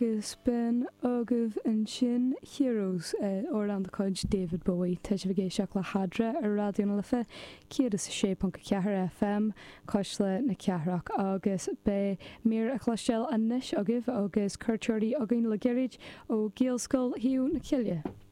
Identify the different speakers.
Speaker 1: Agus b'in agaibh ansin Heroes, amhrán de chuid David Bowie. Tá sibh ag éisteacht le hEadra ar Raidió na Life 106.4 FM, Cuisle na Cathrach, agus beidh mír a chloisteáil anois agaibh agus cuairteoirí againn le gairid ó Ghaelscoil Thaobh na Cille.